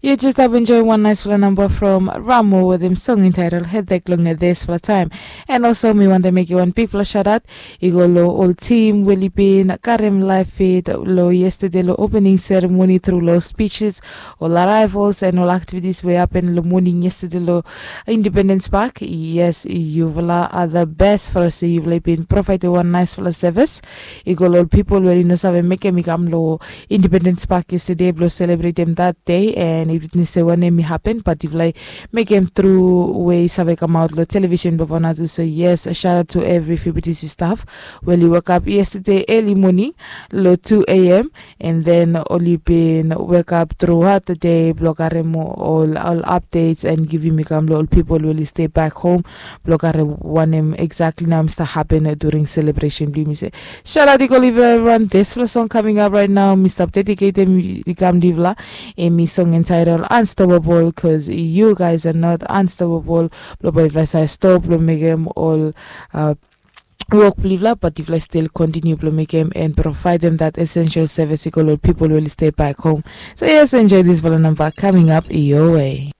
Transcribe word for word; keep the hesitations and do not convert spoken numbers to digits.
Yu jes stap enjoim wan naisfala namba from Ramo wetem song entitled Hedek long disfala taim. And also mi wantem mekim wan bigfala shout out i go long ol tim we oli bin karim laif fit long yestede long opening seremoni tru long speeches, ol arrivals and ol activities we happen long moning yestede long Independence Park. Yes, yufala are the best for se yufala i bin provaidem wan naisfala service i go long ol pipol we oli no save mekem i kam long Independence Park yestede blong selebretem that day. And i witnes se wanem i happen, but yufala i mekem tru we i save kamaut long television before na tu. So yes, shout out to every F B T C staff we oli wekap yestede early morning long two a.m. And then oli bin wekap throughout the day blong karim ol ol updates and givim i kam long ol pipol we oli stay back home blong karim wanem exactly nao mista happen during celebration blong yumi se. Shout out i go live everyone. Disfala song coming up right now mi stap dedicatem i kam livla. Em i song entitled Unstoppable, cause you guys are not unstoppable. Blong bae yufala save stop blong mekem ol uh, wok blong yufala, but yufala still continue blong mekem and providem that essential service i go long pipol we oli stay back home. So yes, enjoy disfala namba coming up your way.